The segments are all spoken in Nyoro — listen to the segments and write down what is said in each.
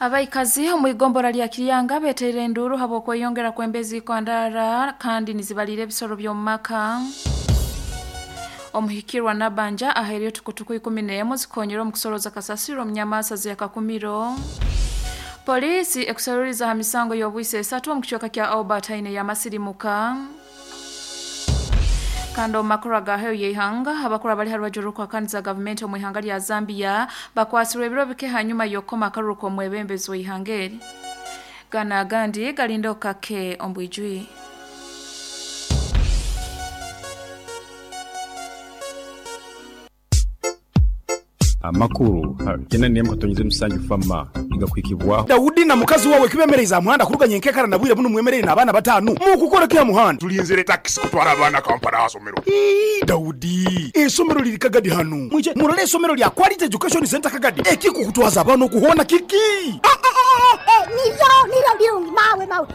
Abaikazi omu igombora lya Kiryanga beteire enduuru habw'okweyongera kw'emba ezikwandara kandi nizibalira ebisoro by'omu maka. Omuhikirwa Nabanja ahairyo tukutuku 11 zikonyera omu kusoroza kasasiro omu nyamaasa z'Akakumiro. Poliisi ekuseruriza ha misango y'obwisi esatu omu kicweka kya Albertine y'amasirimuka. Kandi omu makuru agaheyo y'eihanga, abakuru abali ha rubaju rw'okuhakaniza gavumenti omu ihanga lya Zambia bakwasirwe ebiro bike hanyuma y'okukoma akaruru k'omwebembezi w'eihanga eri. Gano agandi galinda okukake omu bwijwire. Amakuru 81.7 Fama nigakuhikibwaho. Daudi na mukazi wawe kibemereize aha muhanda kuruga nyenkekara na bwire bunu mwemereire n'abaana batanu mukukora ki aha muhanda? Tulinzire takisi kutwara abaana Kampala aha somero. Ii, Daudi, eisomero liri Kagadi hanu. Mwije murole eisomero lya Quality Education Centre Kagadi. Ekikukutwaza abaana oku hoona kiki? Niryo, niryo birungi mawe, mawe.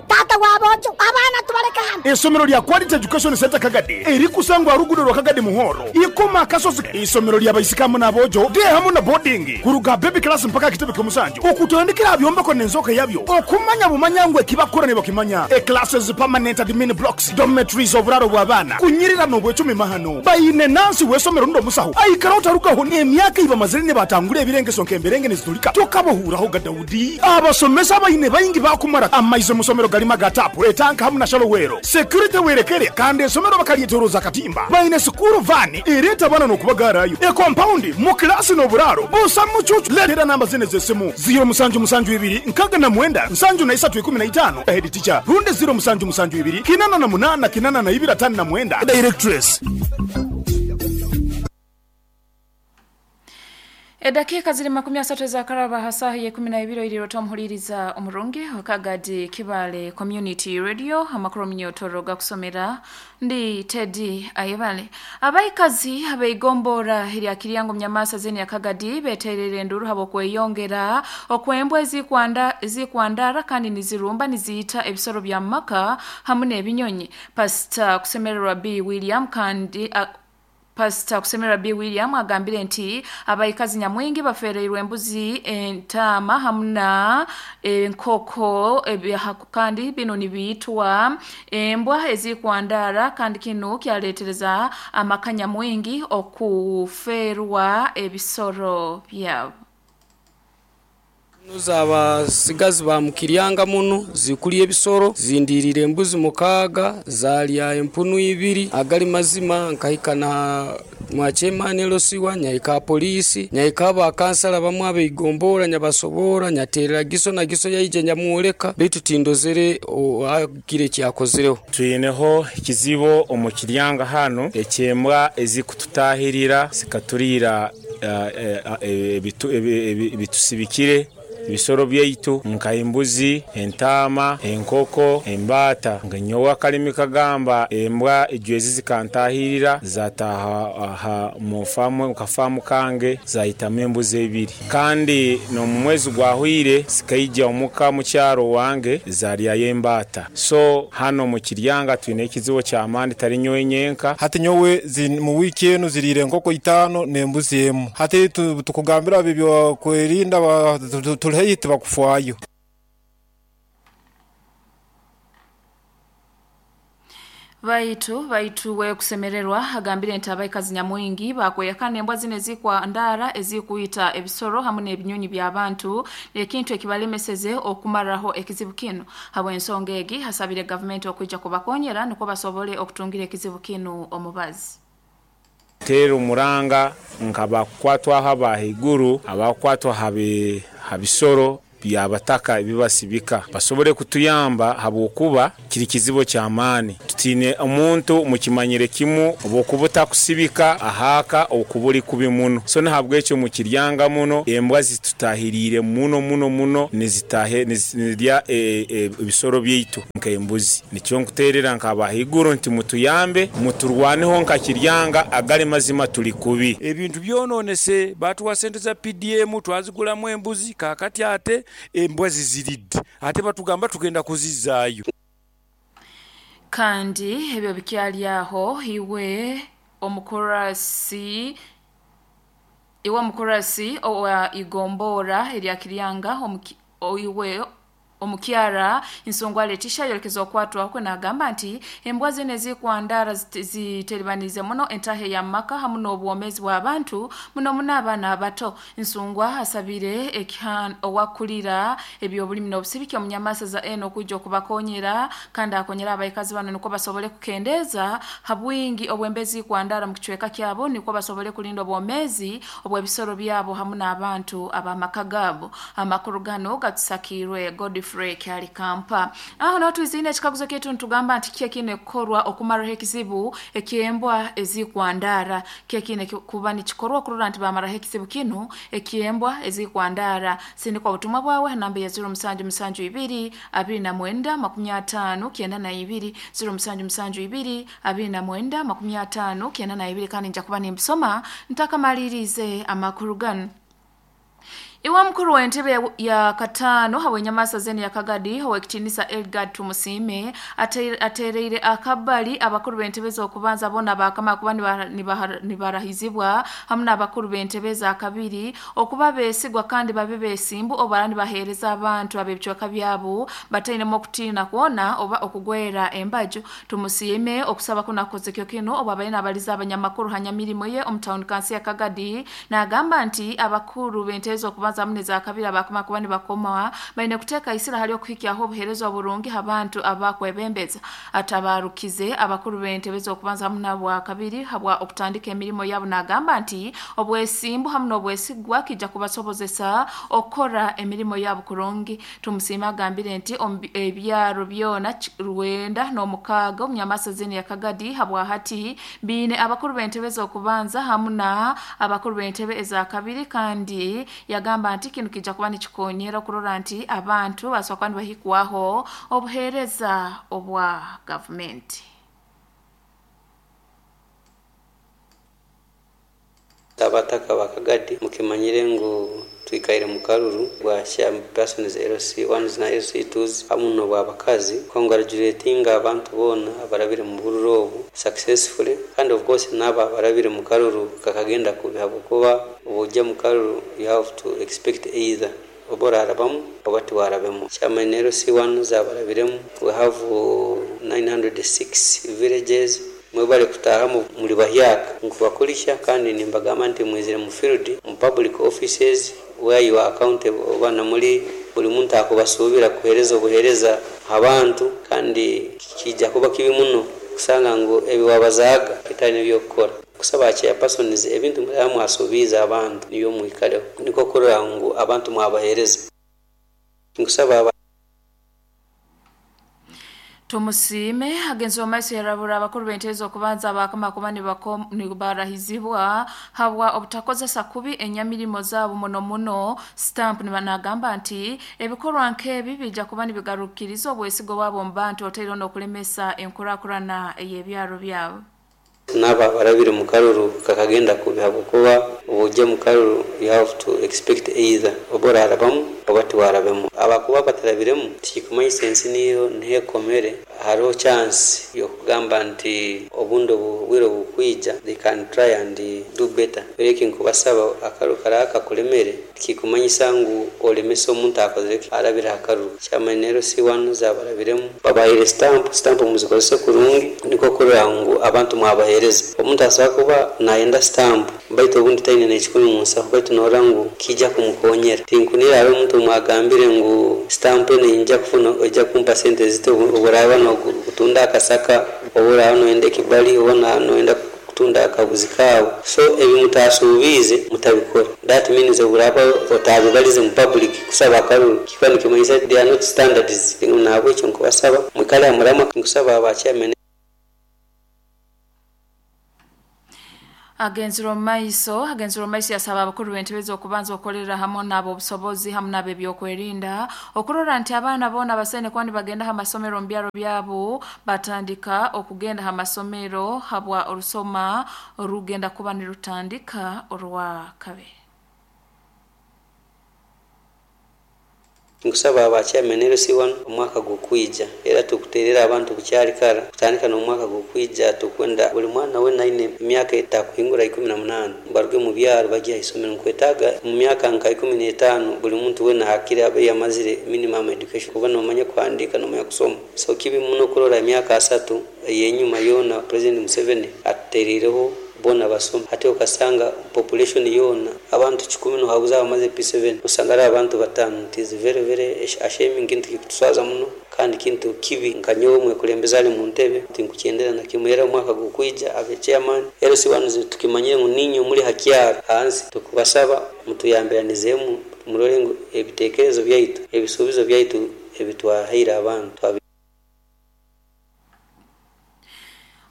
Taata w'aboojo, abaana tubaleke hanu. Eisomero lya Quality Education Centre Kagadi erikusangwa aha ruguudo rwa Kagadi Muhoro, Ikoma Akasozi. Eisomero lya baisiki hamu n'aboojo, day hamu na boarding, kuruga aha baby class mpaka aha kitebe ky'omusanju, okutandikira aha byombeko n'enzooka yabyo, okumanya bumanya ngu ekibakukora nibakimanya. E-classes, permanent admin blocks, dormitories, oburaaro bw'abaana, kunyirira n'obwecumi mahano. Baine nansi w'eisomero rundi omusaho aikara otarugaho n'emyaka ei bamazire nibatangura ebirengeso nk'emberenge nizitulika tokabahuurahoga Daudi. Abasomesa abaine baingi baakumara amaizi omu somero garimu aga taapu, etanka hamu na shallow well. Security werekere kandi esomero bakaryetoroza akatimba. Baine sikuuru vaani ereeta abaana n'okubagaarayo. Ekompaundi, mu kilaasi n'oburaaro busa mucuucu. Leetera namba zinu ez'esimu, ziiro musanju musanju ibiri nkaga na mwenda nsanju na isatu ikumi na itaano, Head teacher, rundi ziiro musanju musanju ibiri kinana na munaana kinana na ibiri atano na mwenda, Directress. Edakiika ziri 30 ezakaraba ha saaha y'eikumi na ibiri oirire ota omuhuriiriza omurungi wa Kagadi Kibaale Community Radio amakuru omunyotoro gakusomera ndi Teddy Ayebale. Abaikazi ab'eigomboora erya Kiryango omu zeni ya Kagadi betereire enduuru habw'okweyongera okw'embwa ezikwandara kandi nizirumba niziita ebisoro bya maka hamu n'ebinyonyi. Pastor Kusemererwa B William kandi Pastor Kusemererwa B William agambire nti abaikazi nyamwingi bafereirwe embuzi, entaama hamu na enkoko kandi binu nibiitwa embwa ezikwandara kandi kinu kyaletereza amaka nyamwingi okuferwa ebisoro byabo. Z'abasigazi ba Mukiryanga muno zikulya ebisolo, zindiirire embuzi mukaaga, zaalya empunu ibiri. Agali mazima nkahika na mwa Chairman LC1, nyaika aha poliisi, nyaika aba kansala bamwe ab'eigombolola nyabasoboora, nyateerera Giso na Giso yaija nyamwoleka beitu tindozere agire kyakozireho. Twineho ekizibu omu Kiryanga hanu eky'embwa ezikututahirira zikaturiira ebitusibikire ebisoro byaitu nka embuzi, entaama, enkoko, embaata. Nga nyowe akalimi kagamba embwa ejwezi zikantahirira zataaha aha mu kafaamu kange zaitamu embuzi ebiri. Kandi n'omu mwezi gwahweire zikaija omuka mukyaro wange zaryayo embaata. So hanu omu Kiryanga twine ekizibu ky'amaani tari nyowe nyenka. Hati nyowe mu wiiki enu ziriire enkoko itaano n'embuzi emu. Hati tukugambira ab'ebyokwerinda turi haihi tibakufaayo. Baitu baitu we kusemererwa agambire nti abaikazi nyamwingi bakweyakana embwa zino ezikwandara ezikwita ebisoro hamu n'ebinyonyi by'abantu ekintu ekibalemeseze okumaraho ekizibu kinu. Habw'ensonga egi hasabire gavumenti okwija kubakonyera nukwo basobole okutungira ekizibu kinu omubazi. Teera omuranga nka abakukwatwaho aba haiguru, abakukwatwa ha bisoro by'abataka ebi basibika basobole kutuyamba habwokuba kiri kizibu ky'amaani. Tutiine omuntu mukimanyire kimu obwokuba otakusibika ahaaka okuba ori kubi muno. So nahabwekyo mukiryanga muno embwa zitutahiriire muno muno muno nizitahe nizirya ebisoro byaitu nk'embuzi. Nikyo nkuteerera nk'aba haiguru nti mutuyambe muturwaneho nka Kiryanga agali mazima tuli kubi. Ebintu byononese, baatuwa sente za PDM twazigulamu embuzi kaakati ate embwa ziziridde ate batugamba tugenda kuzizaayo. Kandi ebyo bikyali aho iwe omukurasi. Iwe omukurasi owa igombora erya Kiryanga oiwe omukyara Nsungwa Letisha yolekeza okwatwa kwe nagamba nti embwa zino ezikwandara ziteribanize muno entahe ya maka hamu n'obwomezi bw'abantu muno muno abaana abato. Nsungwa asabire owakulira ebyobulimi n'obusibiki omunyamasa za eno okwijja okubakonyera kandi akonyera abaikazi bano nukwo basobole kukendeeza ha bwingi obwembezi kwandara mu kicweka kyabo nukwo basobole kulinda obwomezi obw'ebisoro byabo hamu n'abantu ab'amaka gaabo. Amakuru gano gatusakirwe Godfrey Kyali Kampa. Aho naho twizine ekikaguzo kyaitu nitugamba nti kiki ekine kukorwa okumaraho ekizibu eky'embwa ezikwandara. Kiki ekine kuba nikikorwa okurora nti bamaraho ekizibu kinu eky'embwa ezikwandara. Sindika obutumwa bwawe ha namba ya 0772 29 50 92, 0772 29 50 92, kandi nja kuba nimbisoma ntakamalirize amakuru gano. Iwe mukuru w'entebe ya katano habwenyamasa zeni ya Kagadi owekitinisa Elgard Tumusiime atereire akabali abakuru b'entebe z'okubanza bona bakama kuba nibarahizibwa hamu n'abakuru b'entebe za kabiri okuba besigwa kandi babe besimbu obara nibaheereza abantu ab'ebicweka byabo batainemu okutiina kwona oba okugwera embaju. Tumusiime okusaba kunakozekyo kino obu abaine abaliza abanyamakuru hanyamirimo ye omu town council ya Kagadi nagamba nti abakuru b'entebe z'okubanza hamwe za kabiri abakoma kuba nibakoma baine kuteeka isira hali okuhikyaho obuheereza oburungi abantu abakwebembeza. Atabarukize abakuru b'entebe z'okubanza hamwe n'abwa kabiri habwa okutandika emirimo yabo nagamba nti obwesimbu hamwe n'obwesigwa kijja kubasobozesa okukora emirimo yabo kurungi. Tumusiime agambire nti ebyaro byona 96 omunyamasa zini ya Kagadi habwa hati biine abakuru b'entebe z'okubanza hamwe na abakuru b'entebe eza kabiri kandi yagamba nti kinu kijja kuba nikikonyera okurora nti abantu basobola kuba nibahikwaho obuheereza obwa gavumenti. Abataka ba Kagadi mukimanyire ngu twikaire mu karuru bwa chairpersons LC1 na LC2 hamu n'obwabakazi, congratulating abantu boona abarabire mu bururu obu successfully, and of course n'abo abarabire mu karuru kakagenda kubi habwokuba obujja mu karuru you have to expect either oba orarabamu oba tiwarabemu. Chairman LC1 zabarabiremu, we have 906 villages mwebale kutahamu muri bahyaka nkubakulisha, kandi nimbagamba nti mwizire mu field mu public offices where you are accountable, oba namuli buli muntu akubasubira kuhereza obuhereza abantu, kandi kijja kuba kibi muno kusanga ngu ebiwabazaga bitari nebyokukora. Kusaba chairpersons ebintu mwasubiza abantu niyo mwikaleho niko kurora ngu abantu mwabahereza. Nkusaba Tumusiime agenzi w'amaiso yarabura abakuru b'entebe z'okubanza abakama kuba nibarahizibwa habwa obutakozesa kubi enyamirimo zaabo muno muno stamp. Nagamba nti ebikorwa nk'ebi bijja kuba nibigarukiriza obwesigo bwabo mu bantu oteire n'okulemesa enkurakurana ey'ebyaro byabo. N'abo abarabire mu karuru kakagenda kubi habwokuba obujja mu karuru you have to expect either oba orarabamu oba tiwarabemu. Abakuba batarabiremu tikikumanyisa ensi niyo ntekomere, hariho chance yokugamba nti obundi obwire obukwija they can try and do better. Bereki nkubasaba akaruru karaba kakulemere tikikumanyisa ngu olemesa omuntu akozere arabire akaruru. Chairman LC1 zabarabiremu babahaire stamp muzikozese kurungi niko kurora ngu abantu mwabahereza. Omuntu asobola kuba nayenda stamp baitu obundi taine n'ekikumi mu nsaho, baitu norora ngu kijja kumukonyera. Tinkunira hariho omuntu mwagambire ngu stamp eno nja kufuna ojja kumpa sente zito oburaba nokutunda akasaka, oburaba noyenda ekibali, oba noyenda kutunda akabuzi kawe. So ebi mutasuubize mutabikora. That means oburaba otabibalize mu public kusaba akaruru kikuba nikimanyisa they are not standards. Nahabwekyo nkubasaba mwikale hamurama, nkusaba aba chairman. Agenzire omu maiso yasaba abakuru b'entebe z'okubanza okukolera hamwe n'abo obusobozi hamwe n'abo ebyokwerinda okurora nti abaana boona basaine kuba nibagenda ha masomero mu byaro byabo batandika okugenda ha masomero habwa orusoma orugenda kuba nirutandika orwa kabiri. Nkusaba aba chairman LC1 omwaka gukwija era tukuterera abantu bukyali kara kutandika n'omwaka gukwija tukwenda buli mwana wena aine emyaka etakuhingura 18 baruge mu byaro bajye ahisomero. Nkwetaaga mu myaka nka 15 buli muntu wena hakiri abe yamazire minimum education, kuba nomanya kuhandika nomanya kusoma. So kibi muno kurora emyaka 3 eyenyuma yoona President Museveni atuteriireho bona basoma, hati okasanga population yoona abantu 10 nohabuza abamaze P7 osanga ari abantu 5. It is very very ashaming, kintu kikutuswaza muno kandi kintu kibi. Nka nyowe mwekulembeze ali mu ntebe tinkukyendera na kimwe. Era omwaka gukwija abe chairman LC1 tukimanyire ngu ninyo muri hakyaro hansi, tukubasaba mutuyambiranizemu murole ngu ebitekerezo byaitu ebisuubizo byaitu ebitwahaire abantu.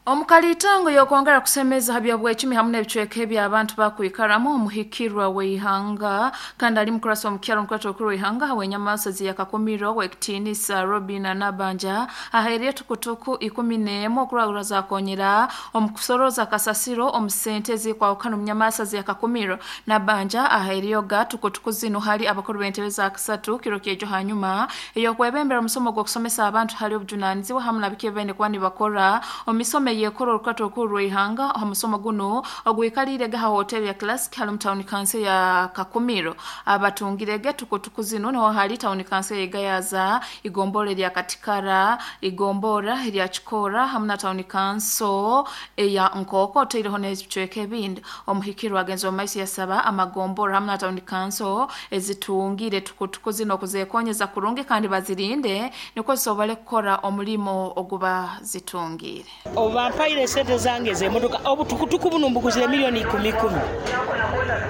Omukalitango yokwongera kusemeza ha byobwecumi hamwe n'ebicweka eby'abantu bakwikaramu omuhikirwa w'eihanga kandi ali mukurasa omukyaro omukurata okuru w'eihanga hawenyamasezi yakakumirwa w'ekitiinisa Robina Nabanja ahaire tukutuku 11 okuragura zakonyera omukusoroza kasasiro omu sente ezikwahukana omunyamasezi yakakumirwa. Nabanja ahaire tukutuku zino hali abakuru b'entebe za kasatu kiro kyejo hanyuma eyokwebembera omusomo gw'okusomesa abantu hali obujunanizibwa hamwe na biki bene kuba nibakora omisomo yekoro orukato okuru rw'eihanga. Omusomo guno ogwikalire gaha hotel ya Classic hali mu town council ya Kakumiro. Abatungirege tukutuku zino niho hali town council ya Gayaza, igombora erya Katikara, igombora erya Kikora hamwe na town council eya Nkoko oteireho n'ebicweka ebindi. Omuhikirwa agenzi omu maiso yasaba amagombora hamwe na town council ezitungire tukutuku zino okuzekonyeza kurungi kandi bazirinde nikwo zisobole kukora omulimo oguba zitungire. Obampaire sente zange ez'emotoka obutukutuku buno mbuguzire milioni 10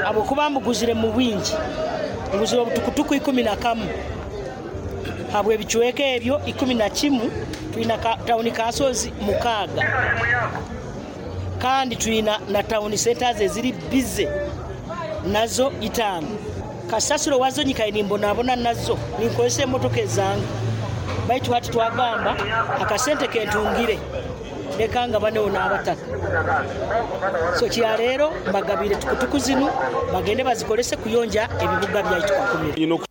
habwokuba mbuguzire mu bwingi, nguzire obutukutuku 11 habw'ebicweka ebyo 11. Twina tawuni kansozi 6 kandi twina na tawuni centers eziri bize nazo 5. Kasasiro wazo nyikaye nimbonabona nazo ninkozesa emotoka ezange, baitu hati twagamba akasente kentungire leka nga banewo n'abataka. So kyaleero mbagabire tukutuku zinu bagende bazikolese kuyonja ebibuga byaitu Kakumiro.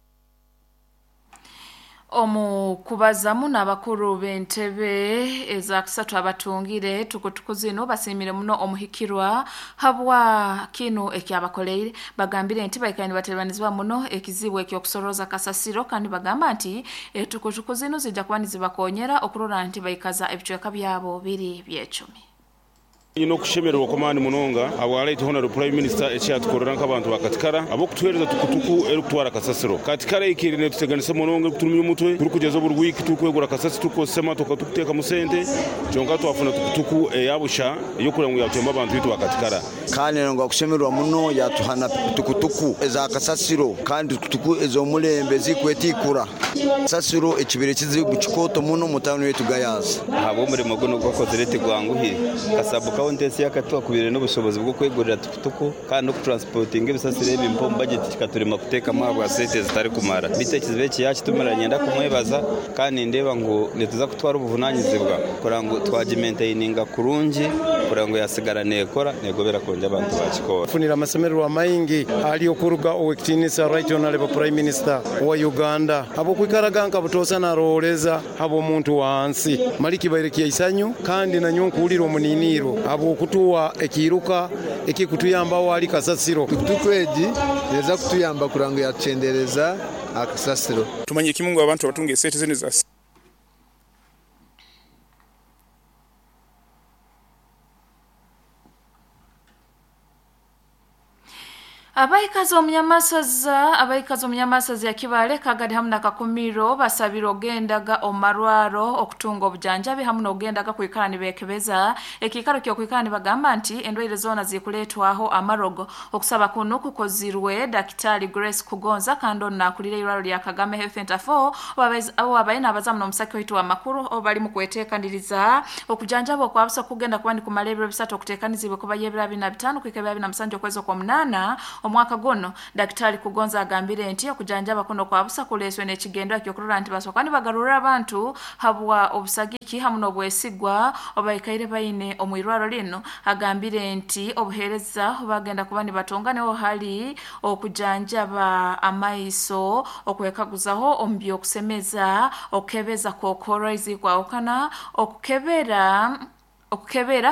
Omu kubazamu n'abakuru b'entebe ezakusatu abatungire tukutuku zino basimire muno omuhikirwa habwa kinu ekyabakoleire. Bagambire nti baikaire nibateranizibwa muno ekizibu ekyokusoroza kasasiro kandi bagamba nti tukutuku zino zijja kuba nizibakonyera okurora nti baikaza ebicweka byabo biri byecumi. Ino kushemererwa kw'amaani munonga habwaraita Honorable Prime Minister ekyatukorera nk'abantu ba Katikara ab'okutuheereza tukutuku erikutwara kasasiro. Katikara eikire netuteganisa munonga erikuturumya omutwe, turikugyeza buri wiiki turikwegura kasasiro tukukozesa emotoka tukuteekamu sente, kyonka twafuna tukutuku eyabusha ey'okureba ngu yatuyamba abantu bitu ba Katikara. Kandi ngu akushemererwa muno yatuhana tukutuku eza kasasiro kandi tukutuku ez'omulembe zikwetikura. Kasasiro ekibire kizibu kikooto muno mu tawuni yetu Gayaza. Ahabw'omurimo guno gwakozire tigwanguhire. Kasabu kaunti yakatwakubire n'obushobozi bwo kwegurira tukutuku kandi n'okutransportinga ebisasiro ebi mpa omu budget kikaturema kuteekamu ahabwa sente zitari kumara. Bitu ekizibu eki yakitumira nyenda kumwebaza kandi nindeeba ngu nituza kutwara obuvunanyizibwa kureba ngu twagimaintaininga kurungi kureba ngu yasigara neekora neegobera kurungi abantu bakikora. Funira amasemererwa maingi hali okuruga owekitiinisa Right Honorable Prime Minister wa Uganda habwokwikaraga nka butoosa narooreza habw'omuntu wansi mali kibaire kyaisanyu kandi nanyo nkuwulira omuniniiro habwokutuwa ekiruka ekikutuyambaho ali kasasiro. Tukutuku egi neza kutuyamba kuranga ngu yatuchendereza akasasiro. Tumanye kimu ngu abantu abatunga esente zinu za Abaikazi omunyamasaza ya Kibale Kagadi hamwe na Kakumiro basabira ogendaga omarwaro okutunga obujanjabi hamwe n'ogendaga kwikara nibekebeza ekikaro kyo kwikara nibagamba nti endwaire zona zikuletwaho amarogo. Okusaba kuno kukozirwe Daktari Grace Kugonza kandi onakulira irwaro lya Kagame Health Center 4 abo abaye n'abazamu n'omusaki waitu wa makuru bali mu kwetekaniriza okujanjaba okwabusa kugenda kuba nikumala ebiro bisatu okutekanizibwe kuba yebira 25 kwika 27 okwezi kwa 8. Omwaka guno Daktari Kugonza agambire nti okujanjaba kuno kwa busa kuleswe n'ekigendo ekyokurora nti basooka nibagarurira abantu habwa obusagiki hamu n'obwesigwa obaikaire baine omu irwaro lino. Agambire nti obuheereza bagenda kuba nibatonga niho hali okujanjaba amaiso, okwekaguzaho omu by'okusemeza, okukebeza kokoro ezikwahukana, okukebera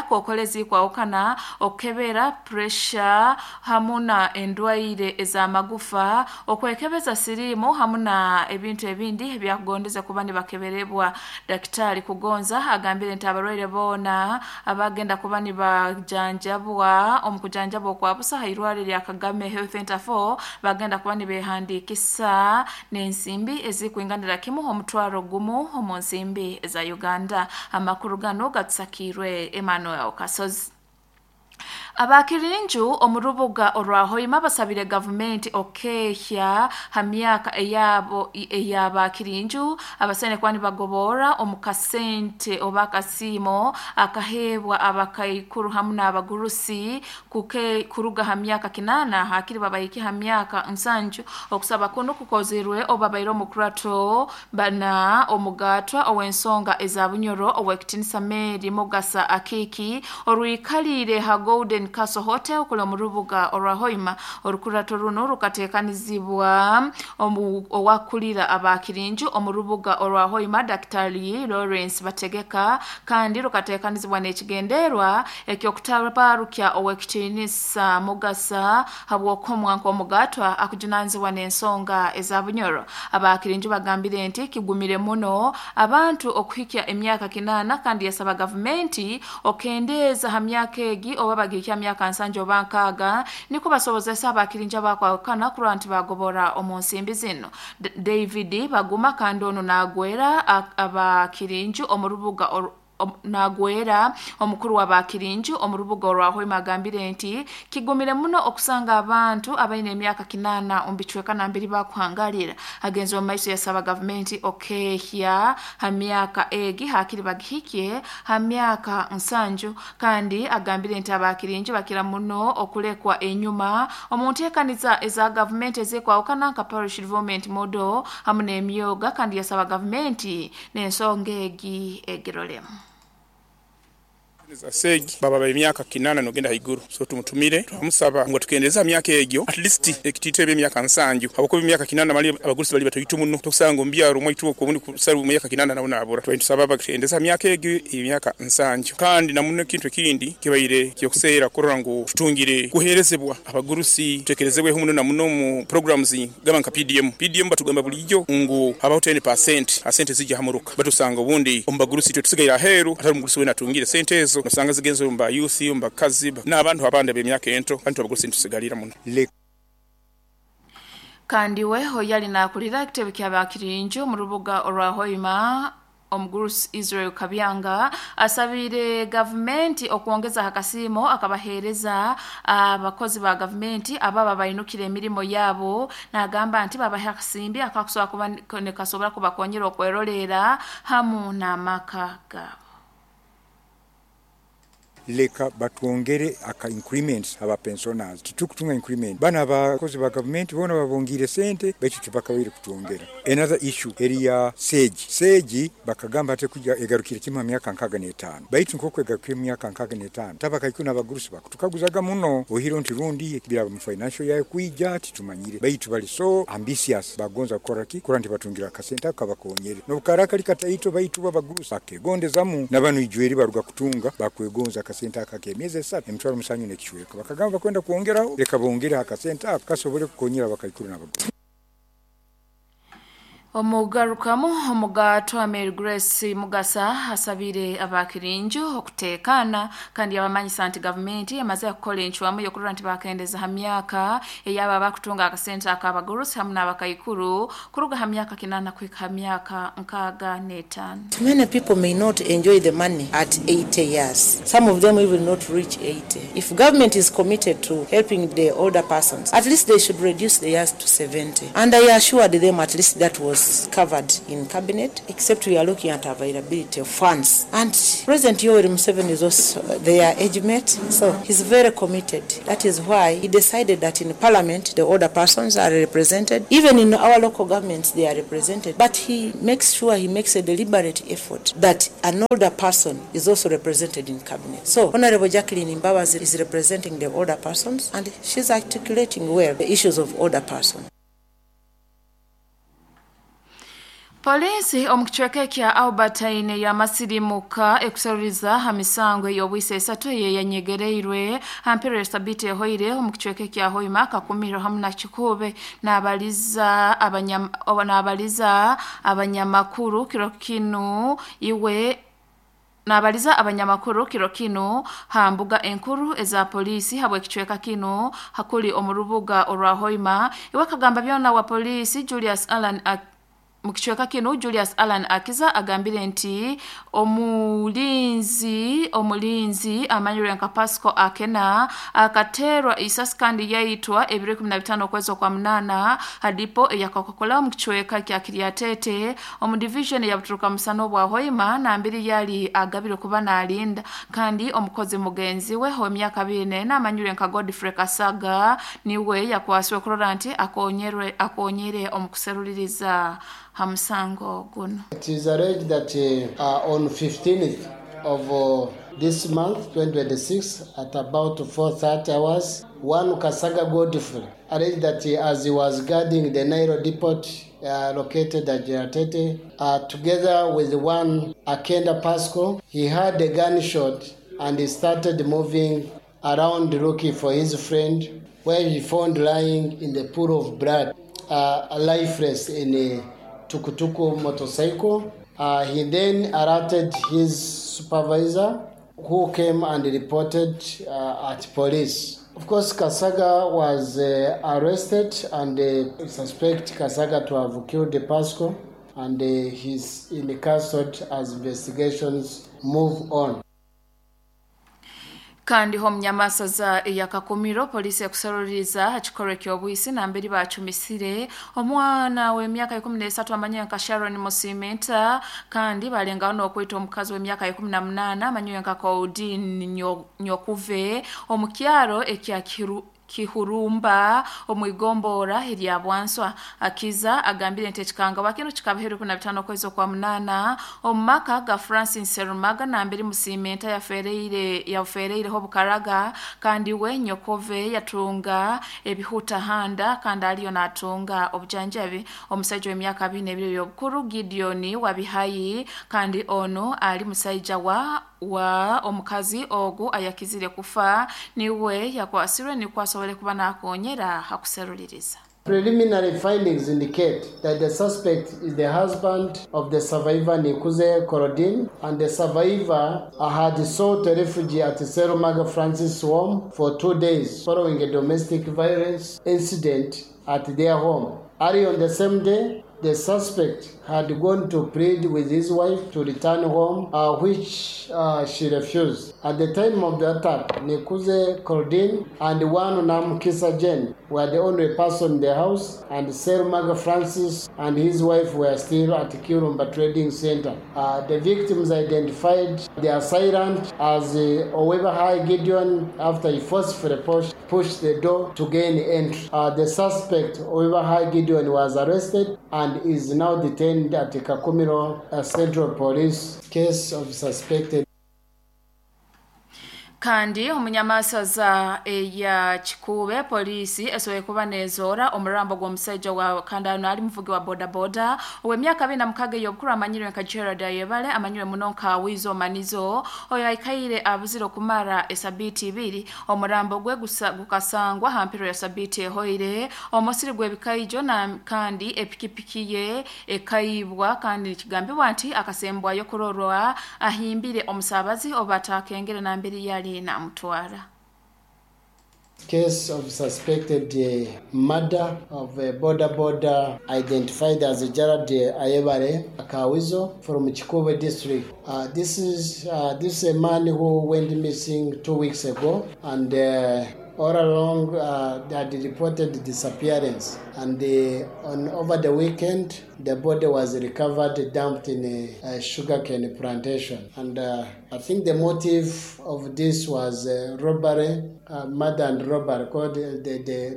kokoro ezikwahukana, okukebera pressure hamu na endwaire ez'amagufa, okwekebeza siriimu hamu na ebintu ebindi ebyakugondeze kuba nibakeberebwa. Daktari Kugonza agambire nti abarwaire boona abagenda kuba nibajanjabwa omu kujanjaba okwa busa ha irwaro erya Kagame Health Center 4 bagenda kuba nibehandiikisa n'ensimbi ezikwinganira kimu 10,000 omu nsimbi za Uganda. Amakuru gano gatusakirwe Emmanuel Kasozi. Abakirinju omu rubuga orwa Hoima basabire gavumenti okehya ha myaka eyabo ey'abakirinju abasene kuba nibagobora omu kasente oba akasiimo akaheebwa abakaikuru hamu n'abagurusi kuruga ha myaka 8 hakiri babahike ha myaka 7. Okusaba kuno kukozirwe obabaire omukurato bana omugatwa ow'ensonga eza Bunyoro ow'ekitinisa Mary Mugasa Akiki orwikalire ha Golden Castle Hotel kuli omu rubuga orwa Hoima. Orukurato runo rukateekanizibwa owakulira abakirinju omu rubuga orwa Hoima Daktari Lawrence Bategeka, kandi rukateekanizibwa n'ekigenderwa eky'okutabarukya ow'ekitinisa Mugasa habw'okomwa nk'omugatwa akujunanizibwa n'ensonga eza Bunyoro. Abakirinju bagambire nti kigumire muno abantu okuhikya emyaka 8, kandi yasaba gavumenti okendeeza ha myaka egi oba bagihikya myaka 7 oba 6 niko basobozesa abakirinju abakwahukana kurora nti bagobora omu nsimbi zino. David Baguma kandi ono nagwera abakirinju omu rubuga nagwera omukuru w'abakirinju omu rubuga orwa Hoima agambire nti kigumire muno okusanga abantu abaine emyaka 8 omu bicweka nambiri bakuhangalira. Agenze omu maiso yasaba gavumenti okehya ha myaka egi hakiri bagihikye ha myaka 7, kandi agambire nti abakirinju bakira muno okulekwa enyuma omu nteekaniza eza gavumenti ezikwahukana nka parish development model hamu n'emyoga, kandi yasaba gavumenti n'ensonga egi egirolemu. Segi baba ba emyaka 8 nogenda haiguru, so tumutumire twamusaba ngu atukendeeze ha myaka egyo at least ekitiito ebe emyaka 7, habwokuba emyaka 8 mali abagurusi bali batoito muno, tokusanga omu byaro omwaitu okwo obundi kusarwa emyaka 8 nawe nabura. Twali nitusaba bakendeze ha myaka egyo emyaka 7. Kandi na muno ekintu ekindi kibaire kyokuseera kurora ngu tutungire kuheerezebwa abagurusi, tutekerezebweho muno na muno mu programs gamba nka PDM. PDM batugamba bulijo ngu habaho 10% ha sente ezija ha muruka, batusanga obundi omu bagurusi itwe tusigaire aheeru, atari omugurusi weena atungire sente ezo, nosanga zigenze omu ba youth, omu bakazi n'abantu abandi ab'emyaka ento, kandi itwe abagurusi nitusigalira muno. Kandi we oyali nakulira ekitebe ky'abakirinju omu rubuga orwa Hoima omugurusi Israel Kabyanga asabire gavumenti okwongeza akasiimo akabaheereza abakozi ba gavumenti ababa bainukire emirimo yabo, nagamba nti babahe akasimbi akakusobola kuba nikasobora kubakonyera okwerorera hamu n'amaka gaabo. Leka batwongere aka increments aba pensioners, titukutunga increment. Bana abakozi ba gavumenti bona babongiire sente, baitu tibakabaire kutwongera. Another issue eri ya seegi. Seegi bakagamba ate kuja egarukire kimu ha myaka 65, baitu nk'oku egarukire mu myaka 65 tabakaikuru n'abagurusi bakutukaguzaga muno ohiro nti rundi biraba mu financial yayo kwija titumanyire, baitu bali so ambitious bagonza kukora ki kurora nti batungira akasente ako kabakonyere n'obukara kali kataito, baitu bo abagurusi bakegondezamu na banu ijweri baruga kutunga bakwegonza akasente aka ak'emyezi 3 7,000 n'ekicweka. Bakagamba bakwenda kwongeraho, leka bongereho akasente ako kasobole kukonyera abakaikuru n'abagurusi. Omugarukamu omugatwa Mary Grace Mugasa asabire abakirinju okuteekana, kandi yabamanyisa nti gavumenti emaze kukola encwamu y'okurora nti bakendeza ha myaka ey'abo abakutunga akasente ak'abagurusi hamu n'abakaikuru kuruga ha myaka 8 kuhika ha myaka 65. Many people may not enjoy the money at 80 years. Some of them even not reach 80. If government is committed to helping the older persons, at least they should reduce the years to 70. And I assured them at least that was That's covered in cabinet, except we are looking at availability of funds. And President Yoweri Museveni is also their age mate, so he's very committed. That is why he decided that in parliament the older persons are represented. Even in our local governments they are represented. But he makes sure he makes a deliberate effort that an older person is also represented in cabinet. So Honorable Jacqueline Mbabazi is representing the older persons, and she's articulating well the issues of older persons. Polisi omu kicweka ekya Albertine yamasirimuka ekusaluriza ha misango ey'obwisa esatu eyeyanyegereirwe hampero esabiti ehoire omu kicweka ekya Hoima, Kakumiro hamu na Kikuube. N'abaliza abanyamakuru kiro kinu iwe Nabaliza abanyamakuru kiro kinu ha mbuga enkuru eza polisi habwe kicweka kinu hakuli omu rubuga orwa Hoima. Iwe kagamba byona wa polisi Julius Allan mu kicweka kinu Julius Allan Akiza agambire nti omulinzi amanyirwe nka Pasco Akena akaterwa isasi kandi yaitwa ebiro 15 okwezi kwa 8 hadipo eyakakokola mu kicweka kya Kiryatete omu division ya Buturuka Musano bwa Hoima na mbiri yali agabire kuba nalinda, kandi omukozi mugenzi we ho emyaka 4 amanyirwe nka Godfrey Kasaga niwe yakwaswe kurora nti akonyere omukuseruliriza hamusango guno. It is alleged that on 15th of this month, 2026, at about 4:30 hours, one Kasaga Godfrey alleged that as he was guarding the Nairo depot located at Jeratete, together with one Akenda Pasco, he heard a gunshot and he started moving around looking for his friend, where he found lying in the pool of blood, lifeless in a tukutuku motorcycle. He then alerted his supervisor, who came and reported at police. Of course, Kasaga was arrested, and suspect Kasaga to have killed the Pasco, and he's in the custody as investigations move on. Kandi ho mnyamasaza ya Kakumiro polisi ekusaluriza ekikorwa eky'obwisi namberi bachumisire omwana w'emyaka 13 amanywe nka Sharon Musimenta, kandi balengaho n'okwita omukazi w'emyaka 18 amanywe nka Claudine Nyokuve omu kyaro ekya Kihurumba omwigombora erya Bwanswa. Akiza agambire nti ekikangabwa kino kikabaheru 15 okwezi kwa 8 omu maka ga Francis Serumaga namberi Musimenta yafereireho bukaraga, kandi we Nyokove yatunga ebihuta handa kandi aliyo natunga obujanjabi. Omusajja w'emyaka 22 y'obukuru Gideon Wabihayi, kandi ono ali musajja wa omukazi ogu ayakizire kufa niwe yakwasirwe nikwasobole kuba nakonyera hakuseruliriza. Preliminary findings indicate that the suspect is the husband of the survivor Nikuze Korodin, and the survivor had sought refuge at Serumaga Francis home for 2 days following a domestic violence incident at their home. Early on the same day, the suspect had gone to plead with his wife to return home, which she refused. At the time of the attack, Nikuze Korodin and one Namkisa Jen were the only person in the house, and Serumaga Francis and his wife were still at Kirumba Trading Center. The victims identified the assailant as Owebahai Gideon after he forcefully pushed the door to gain entry. The suspect, Owebahai Gideon, was arrested and is now detained at the Kakumiro Central Police. Case of suspected. Kandi omunyamasaza eya Kikuube polisi esoboye kuba nezoora omurambo gw'omusajja wa kandano ali muvugi wa bodaboda ow'emyaka 26 ey'obukulu amanyirwe nka Gerard Ayebale amanyirwe muno nka Wizo Manizo, oyo aikaire abuzire okumara esabiiti 2. Omurambo gwe gukasangwa hampero ya sabiiti ehoire omusiri gw'ebikaijo na kandi epikipiki ye ekaibwa, kandi kigambibwa nti akasembwayo kurorwa ahimbire omusabazi oba atakengere namberi yali na mutwara. Case of suspected murder of a border identified as Gerard Ayebare Kawizo from Chikuwe district. This is a man who went missing 2 weeks ago, and All along, they had reported disappearance, and on over the weekend, the body was recovered, dumped in a sugarcane plantation. And I think the motive of this was robbery, murder and robbery. Because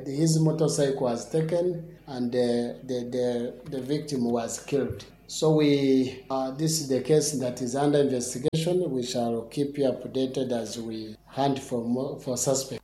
his motorcycle was taken, and the victim was killed. So this is the case that is under investigation. We shall keep you updated as we hunt for suspects.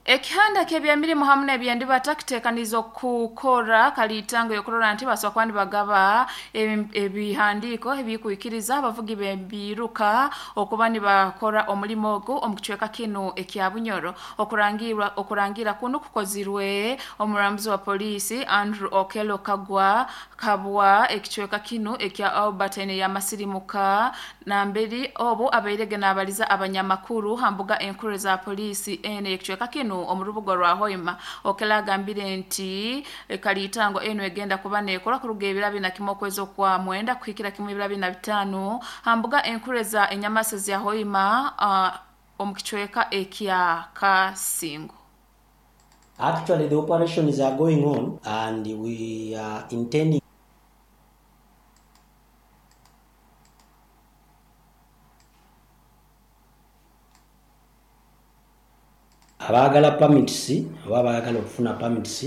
Ekihanda ky'ebyemirimu hamu n'ebyendibata kiteekaniza okukora kaliitango y'okurora nti basobola kuba nibagaba ebihandiiko ebikuikiriza abavugi b'ebiruka okuba nibakora omulimo ogu omu kicweka kinu ekya Bunyoro. Okurangira kunu kukozirwe omurambuzi wa poliisi Andrew Okello Kagwa Kabwa ekicweka kinu ekya Albertine y'amasirimuka namberi obu abairege n'abaliza abanyamakuru ha mbuga enkuru za poliisi ene ekicweka kinu omu rubuga rwa Hoima. Okello agambire nti kaliitango eno egenda kuba neekora kuruga ebiro abiri na kimwe okwezi okwa mwenda kuhikira kimwe ebiro abiri na bitaano ha mbuga enkuru eza enyamasa za Hoima omu kicweka ekya Kasingo. Actually, the operations are going on and we are intending abaagala permits oba abaagala okufuna permits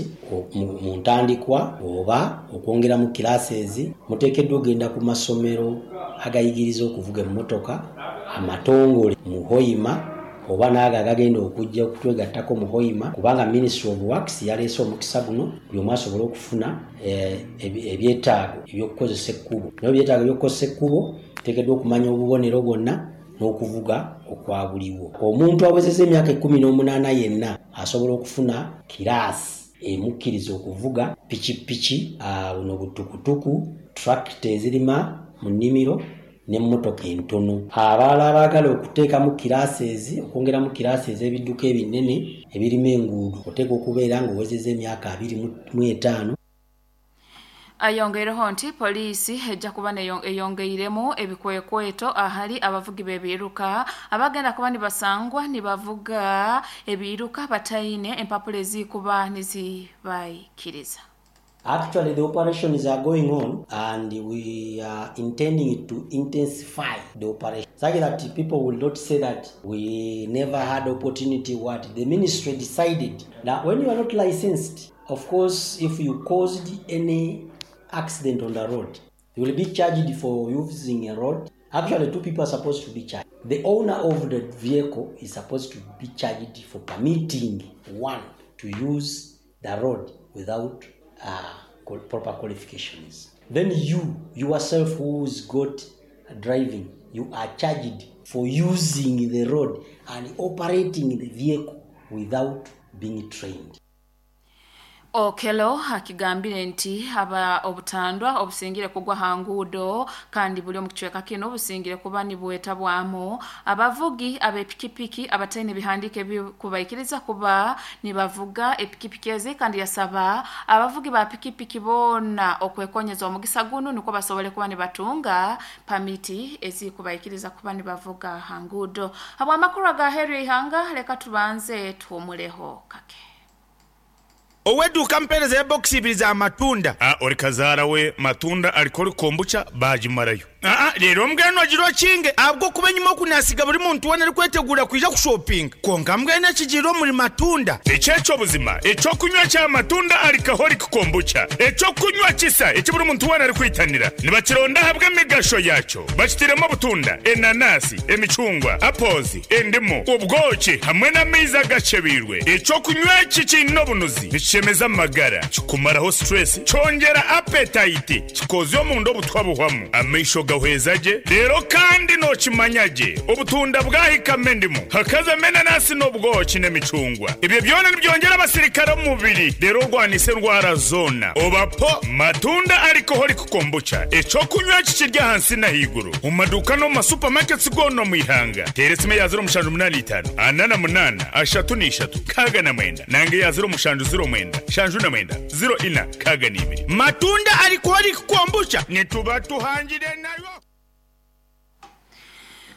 mu ntandikwa oba okwongeramu classes, muteekeddwa okugenda ku masomero agayigiriza okuvuga emmotoka amatongole mu Hoima oba n'ago agagenda okujja okutwegattako mu Hoima, kubanga Ministry of Works yaleese omukisa guno buli omu asobole okufuna ebyetaago eby'okukozesa ekkubo. Naye ebyetaago eby'okukozesa ekkubo tuteekeddwa okumanya obubonero bwonna n'okuvuga okwa buliwo. Omuntu awezezza emyaka 18 yenna asobola okufuna kiraasi emukkiriza okuvuga pikipiki, buno butukutuku, tractor ezirima mu nnimiro n'emmotoka entono. Abalala abaagala okuteekamu classes, okwongeramu kiraasi ez'ebidduka ebinene ebirima enguudo, oteekwa okubeera ng'owezezza emyaka 25. Ayongeireho nti poliisi ejja kuba eyongeiremu ebikwekweto ahali abavugi b'ebiruka abagenda kuba nibasangwa nibavuga ebiruka bataine empapula ezikuba nizibayikiriza. Actually, the operations are going on and we are intending to intensify the operation such that people will not say that we never had opportunity. What the ministry decided that when you are not licensed, of course, if you caused any accident on the road, you will be charged for using a road. Actually, two people are supposed to be charged. The owner of the vehicle is supposed to be charged for permitting one to use the road without proper qualifications. Then you yourself who's got driving, you are charged for using the road and operating the vehicle without being trained. Okello akigambire nti aba obutandwa obusingire kugwa ha nguudo kandi buli omu kicweka kino obusingire kuba nibwetabwamu abavugi ab'epikipiki abataine bihandiiko ebikubaikiriza kuba nibavuga epikipiki ezi, kandi yasaba abavugi ba pikipiki boona okwekonyeza omugisa guno nukwo basobole kuba nibatunga pamiti ezikubaikiriza kuba nibavuga ha nguudo. Habw'amakuru aga Henry Ihanga, leka tubanze tuwumuleho kake. Ow'edduuka mpeereza ya bbokisi ibiri za matunda. A Ori kazaara we matunda alcoholic kombucha baagimarayo. Aa Reero mbwenu ogira okinge ahabw'okuba enyima oku naasiga buri muntu weena arikwetegura kwija kushopinga. Kwonka mbwenu ekigiire omuri matunda. Eki eky'obuzima eky'okunywa kya matunda alcoholic kombucha. Eky'okunywa kisa eki buri muntu weena arikwitanira. Nibakironda ahabw'emigasho yaakyo. Bakitairemu obutunda, enanasi, emicungwa, apples, endimu, obwoki hamwe n'amaizi agakyebeirwe. Eky'okunywa eki kiine obunuzi, nikishemeza amagara, kikumaraho stress, kyongyera appetite, kikozya omunda obutwa buhwamu, amaisho gahweza gye, reero kandi nookimanya gye obutunda bwahikamu endimu, hakazamu enanasi n'obwoki n'emicungwa. Ebyo byona nibyongyera abasirikare omu mubiri reero orwanise endwara zoona. Oba po Matunda Alcoholic Kombucha, eky'okunywa eki kiri ahansi n'ahaiguru omu maduuka n'omu ma supermarkets goona omu ihanga. Teera esimu eya 0785 48 33 69 nanga eya 0709 79 04 62. Matunda Alcoholic Kombucha nituba tuhangire nayo.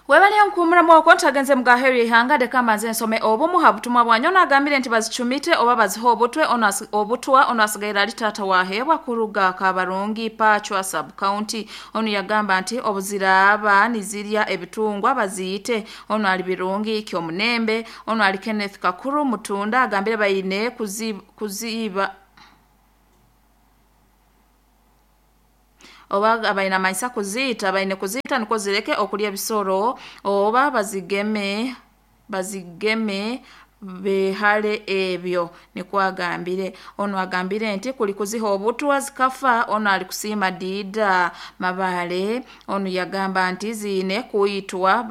Webale nkumura mwoko ntagenze mugaheri ihanga deka mbanze nsome obumu habutumwa bwanyu nagambire nti bazicumite oba baziho obutwe obutwa ono asigaira ali tata wahebwa kuruga Kabarungi Pachwa sub county. Ono yagamba nti obuziraba nizirya ebitungwa baziyite. Ono ali Birungi Kyomunembe. Ono ali Kenneth Kakuru Mutunda agambire bayine kuziba oba abaina maisa kuzita abaine kuzita niko zireke okulya ebisoro oba bazigeme behale ebyo nikwagambire. Ono agambire nti kuli kuziha obutwa zikafa. Ono ali kusima dida mabale. Ono yagamba nti zine kuitwa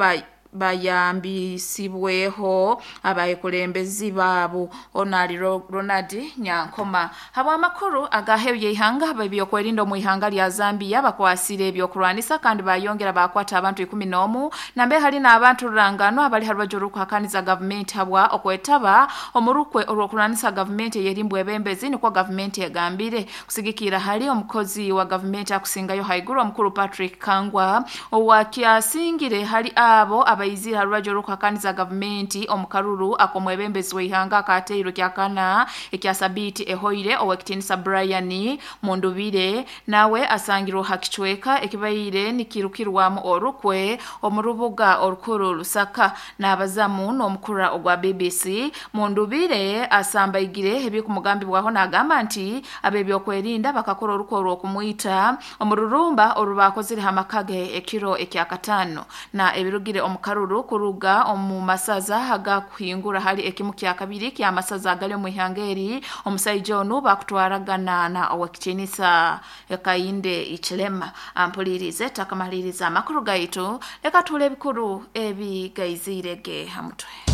bayambisibweho abayikulembezi baabo. Ono ali Ronald Nyankoma. Habwa amakuru agahebye ihanga bebyokwerinda mu ihanga lya Zambia bakwasire ebyokulwanisa kandi bayongera bakwata abantu 11 nambe hali n'abantu rurangano abali harwajuru rukuhakaniza gavumenti habwa okwetaba omurukwe olwokulwanisa gavumenti eyerimbwe ebembezi nikwo gavumenti egambire kusigikira hali omukozi wa gavumenti akusingayo haiguru omukuru Patrick Kangwa owakyasingire hali abo abaizira harwajuru rukuhakaniza gavumenti omukaruru akomwebembezi w'ihanga akateirwe kyakana ekya sabiti ehoire owekitinisa Brian Mundubire nawe asangirwe hakichweka ekibaire nikirukirwamu orukwe omurubuga orukuru Lusaka n'abazamu n'omukura ogwa BBC. Mundubire asambaigire ebikumugambibwaho n'agamba nti abebyokwerinda bakakora orukwe orw'okumwita omururumba orubakozire hamakage ekiro ekyakatano na ebirugire omukaruru kuruga omu masaza agakuhingura hali ekimu kya kabiri kya masaza agali omu ihangeri omusaija onu bakutwaragana na owekitinisa Ekainde Ichilema. Ampulirize takamaliriza amakuru gaitu leka tule ebikuru ebigaizirege hamutwe.